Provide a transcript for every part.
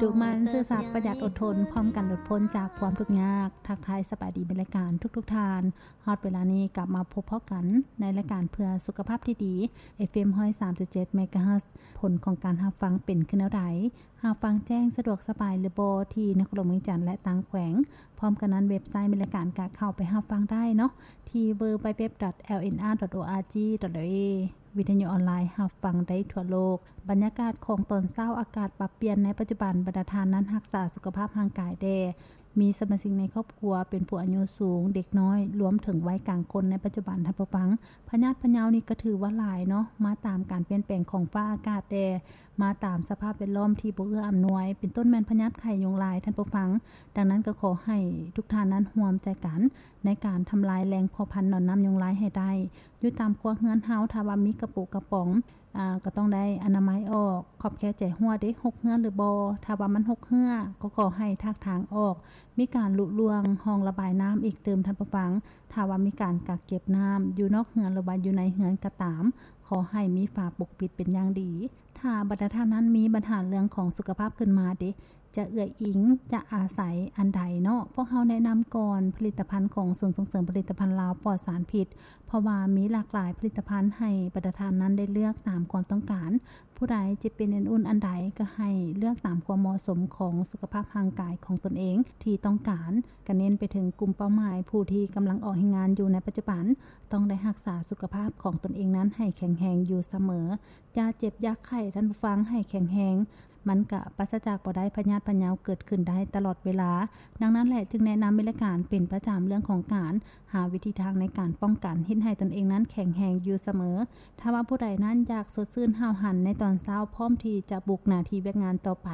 ດຸໝັ່ນ ຊື່ສັດ ປະຢັດ ອົດທົນ ພ້ອມກັນຫຼຸດພົ້ນຈາກຄວາມທຸກຍາກ. ທັກທາຍສະບາຍດີ ແມ່ນລາຍການທຸກໆທ່ານ. ຮອດເວລານີ້ກັບມາພົບພໍ້ກັນໃນລາຍການເພື່ອສຸຂະພາບທີ່ດີ ເອຟເອັມ ຮ້ອຍສາມຈຸດເຈັດ ເມກາເຮີດ. ຜົນຂອງການຮັບຟັງເປັນຄືແນວໃດ? ຮັບຟັງແຈ້ງສະດວກສະບາຍຫຼືບໍ່ ທີ່ນະຄອນຫຼວງວຽງຈັນ ແລະ ຕ່າງແຂວງ? ພ້ອມກັນນັ້ນ ເວັບໄຊແມ່ນລາຍການກະເຂົ້າໄປຮັບຟັງໄດ້ເນາະ ທີ່ ดัບເບິນຢູດັບເບິນຢູດັບເບິນຢູດັບເບິນຢູ ຈຸດ ເອເອ ຈຸດ ເອເອ ຈຸດ ທີ ວີ ວິທະຍຸອອນລາຍ ຮັບຟັງໄດ້ທົ່ວໂລກ. ບັນຍາກາດຂອງຕອນເຊົ້າ ອາກາດປັບປ່ຽນໃນປັດຈຸບັນ. ບັນດາທ່ານນັ້ນຮັກສາສຸຂະພາບຮ່າງກາຍແດ່. ມີສະມາຊິກໃນຄອບຄົວເປັນຜູ້ອາຍຸສູງ, ເດັກນ້ອຍ, ລວມເຖິງໄວກາງຄົນໃນປັດຈຸບັນ. ທ່ານຜູ້ຟັງ, ພະຍາດພະເຍົານີ້ກໍຖືວ່າຫຼາຍເນາະ, ມາຕາມການປ່ຽນແປງຂອງຟ້າອາກາດແດ່, ມາຕາມສະພາບແວດລ້ອມທີ່ບໍ່ເອື້ອອຳນວຍ, ເປັນຕົ້ນແມ່ນພະຍາດໄຂ້ຍຸງລາຍ. ທ່ານຜູ້ຟັງ, ດັ່ງນັ້ນກໍຂໍໃຫ້ທຸກທ່ານນັ້ນຮ່ວມໃຈກັນ ໃນການທຳລາຍແຫຼ່ງເພາະພັນໜອນນ້ຳຍຸງລາຍໃຫ້ໄດ້. ຢູ່ຕາມຄົວເຮືອນເຮົາ ຖ້າວ່າມີກະປຸກະປ໋ອງ ອາ ກໍຕ້ອງໄດ້ອະນາໄມອອກ, ຂອບແຄໃຈຮົ້ວເດ້ ຫົກເຮືອນຫຼືບໍ່. ຖ້າວ່າມັນຫົກເຮືອ ກໍຂໍໃຫ້ຖາກທາງອອກ, ມີການລຸລ່ວງຮ່ອງລະບາຍນ້ຳອີກຕື່ມ. ທ່ານຜູ້ຟັງ, ຖ້າວ່າມີການກັກເກັບນ້ຳຢູ່ນອກເຮືອນ ຫຼືວ່າຢູ່ໃນເຮືອນກໍຕາມ, ຂໍໃຫ້ມີຝາປົກປິດເປັນຢ່າງດີ. ຖ້າບັນດາທ່ານນັ້ນມີບັນຫາເລື່ອງຂອງສຸຂະພາບຂຶ້ນມາເດ, ຈະເອື້ອຍອີງ, ຈະອາໄສອັນໃດເນາະ? ພວກເຮົາແນະນຳກ່ອນຜະລິດຕະພັນຂອງສູນສົ່ງເສີມຜະລິດຕະພັນລາວປອດສານພິດ, ເພາະວ່າມີຫຼາກຫຼາຍຜະລິດຕະພັນໃຫ້ບັນດາທ່ານນັ້ນໄດ້ເລືອກຕາມຄວາມຕ້ອງການ. ຜູ້ໃດຈະເປັນອັນອຸ່ນອັນໃດກໍໃຫ້ເລືອກຕາມຄວາມເໝາະສົມຂອງສຸຂະພາບຮ່າງກາຍຂອງຕົນເອງທີ່ຕ້ອງການ. ກະເນັ້ນໄປເຖິງກຸ່ມເປົ້າໝາຍຜູ້ທີ່ກຳລັງອອກແຮງງານຢູ່ໃນປັດຈຸບັນ, ຕ້ອງໄດ້ຮັກສາສຸຂະພາບຂອງຕົນເອງນັ້ນໃຫ້ແຂງແຮງຢູ່ສະເໝີ. ຢ່າເຈັບຢ່າໄຂ້, ທ່ານຜູ້ຟັງ, ໃຫ້ແຂງແຮງ. ມັນກະປາສະຈາກບໍ່ໄດ້, ພະຍາດພະເຍົາເກີດຂຶ້ນໄດ້ຕະຫຼອດເວລາ. ດັ່ງນັ້ນແຫຼະ ຈຶ່ງແນະນຳໃນລາຍການເປັນປະຈຳເລື່ອງຂອງການຫາວິທີທາງໃນການປ້ອງກັນ, ເຮັດໃຫ້ຕົນເອງນັ້ນແຂງແຮງຢູ່ສະເໝີ. ຖ້າວ່າຜູ້ໃດນັ້ນຢາກສົດຊື່ນຫ້າວຫັນໃນຕອນເຊົ້າ, ພ້ອມທີ່ຈະບຸກໜ້າທີ່ວຽກງານຕໍ່ໄປ,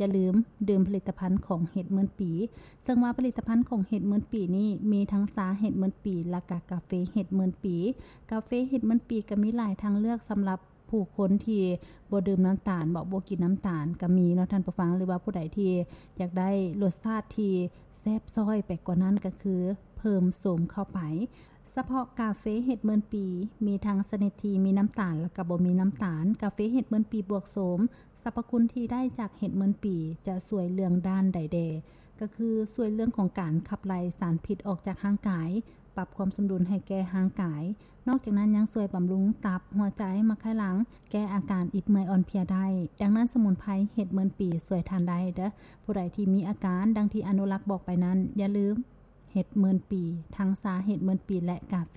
ຢ່າລືມດື່ມຜະລິດຕະພັນຂອງເຫັດໝື່ນປີ. ເຊິ່ງວ່າຜະລິດຕະພັນຂອງເຫັດໝື່ນປີນີ້ ມີທັງຊາເຫັດໝື່ນປີ ແລະກະກາເຟເຫັດໝື່ນປີ. ກາເຟເຫັດໝື່ນປີກໍມີຫຼາຍທາງເລືອກສຳລັບ ຜູ້ຄົນທີ່ບໍ່ດື່ມນ້ຳຕານເນາະ, ບໍ່ກິນນ້ຳຕານກໍມີເນາະທ່ານຜູ້ຟັງ, ຫຼືວ່າຜູ້ໃດທີ່ຢາກໄດ້ລົດຊາດທີ່ແຊບຊ້ອຍໄປກວ່ານັ້ນ ກໍຄືເພີ່ມໂສມເຂົ້າໄປ. ສະເພາະກາເຟເຫັດໝື່ນປີ ມີທັງຊະນິດທີ່ມີນ້ຳຕານ ແລະກໍບໍ່ມີນ້ຳຕານ. ກາເຟເຫັດໝື່ນປີບວກໂສມ, ສັບພະຄຸນທີ່ໄດ້ຈາກເຫັດໝື່ນປີ ຈະຊ່ວຍເລື່ອງດ້ານໃດແດ່? ກໍຄືຊ່ວຍເລື່ອງຂອງການຂັບໄລ່ສານພິດອອກຈາກຮ່າງກາຍ, ປັບຄວາມສົມດຸນໃຫ້ແກ່ຮ່າງກາຍ. ນອກຈາກນັ້ນຍັງຊ່ວຍບຳລຸງຕັບ, ຫົວໃຈ, ໝາກໄຂ່ຫຼັງ, ແກ້ອາການອິດເມື່ອຍອ່ອນເພຍໄດ້. ດັ່ງນັ້ນສະໝຸນໄພເຫັດໝື່ນປີຊ່ວຍທ່ານໄດ້ເດີ້. ຜູ້ໃດທີ່ມີອາການດັ່ງທີ່ອະນຸລັກບອກໄປນັ້ນ, ຢ່າລືມເຫັດໝື່ນປີ, ທັງຊາເຫັດໝື່ນປີ ແລະກາເຟ.